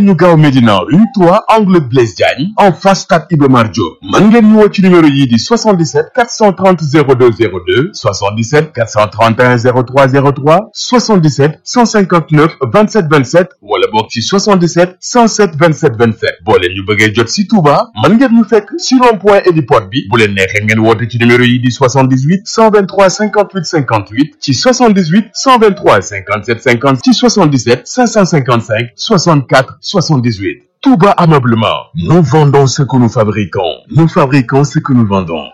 ñu gaaw Médina rue 3 angle Blaise Diagne en face stade Iba Mar Diop mën ngeen ñu woo ci numéro yii di 77 430 02 02 77 431 03 03 77 159 27 27 wala boog ci 77 107 27 27 boo leen ñu bëggee jot si Touba mën ngeen ñu fekk si rond-point héliport bi bu leen neexee ngeen woote ci numéro yii di 78 123 58 58 ci 78 123 57 50 ci 77 555 64 78. Touba Ameublement. Nous vendons ce que nous fabriquons. Nous fabriquons ce que nous vendons.